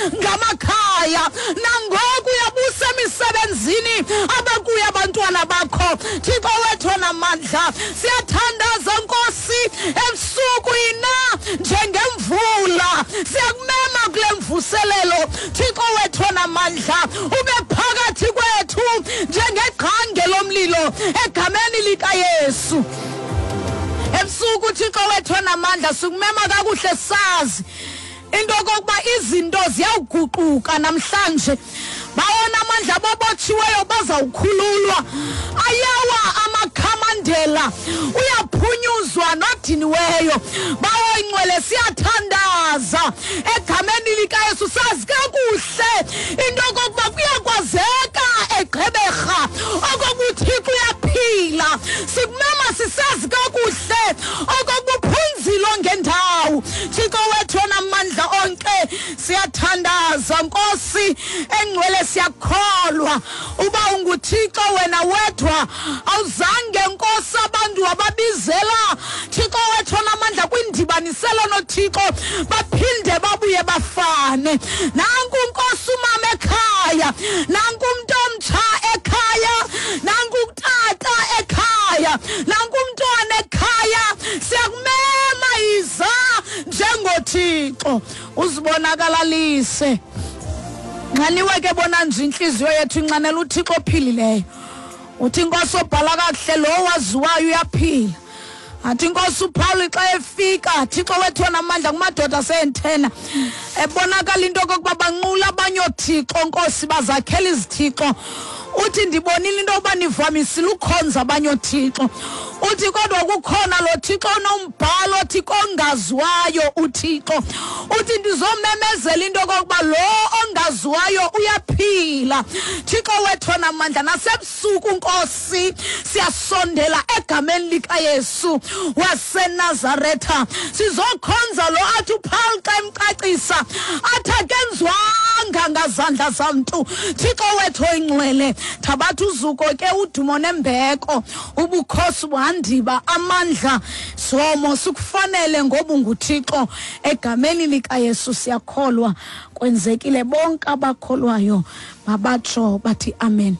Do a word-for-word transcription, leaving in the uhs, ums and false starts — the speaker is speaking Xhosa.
ngamakhaya, nangoku uyabusa emisebenzini abakuyo abantwana bakho. Thixo wethu onamandla, siyathandaza Nkosi ebusuku ina njengemvula, siyakumema kule mvuselelo. Thixo wethu onamandla, ube phakathi kwethu njengegqange lomlilo egameni likaYesu. Ebusuku Thixo wethu onamandla, sikumema kakuhle sazi into okokuba izinto ziyawuguquka namhlanje. Bawona amandla abobotshiweyo bazawukhululwa, ayawa amakhamandela, uyaphunyuzwa nodiniweyo. Bawo ingcwele, siyathandaza egameni likaYesu, sazi kakuhle into okokuba kuyakwazeka eGqeberha okokuba uThixo uyaphila. Sikumema sisazi kakuhle okokuba uphunzile ngendawo. Thixo wethu onamandla onke, siyathandaza Nkosi engcwele, siyakholwa uba unguThixo wena wedwa, awuzange Nkosi abantu wababizela Thixo wethu onamandla kwindibaniselo noThixo baphinde babuye bafane. Nanku Nkosi umama ekhaya, nanku umntu omtsha ekhaya, nanku utata ekhaya, nanku umntwana ekhaya, siyakumema iza njengoThixo uzibonakalalise. Nxaniwe ke bona nje inhliziyo yethu inxanela uThixo ophilileyo. Uthi Inkosi obhala kakuhle lo waziwayo uyaphila. Athi Inkosi uPaul xa efika, Thixo wethu onamandla, kumadoda aseNtena, ebonakala into okokuba banqula abanye oothixo Nkosi, bazakhela izithixo. Uthi ndibonile into yokuba nivamisile ukhonza abanye oothixo. Uthi kodwa kukhona lo Thixo onombhalo othi kongaziwayo uThixo. Uthi ndizomemezela into okokuba lo ongaziwayo uyaphila. Thixo wethu onamandla, nasebusuku Nkosi siyasondela egameni likaYesu waseNazaretha, sizokhonza lo athi uPaul xa emcacisa athi akenziwanga ngazandla zamntu. Thixo wethu oyingcwele, thabatha uzuko ke, udumo nembeko, ubukhosi buhandiba, amandla somo sikufanele ngoba unguThixo. Egameni likaYesu siyakholwa, kwenzekile. Bonke abakholwayo mabatsho bathi amen.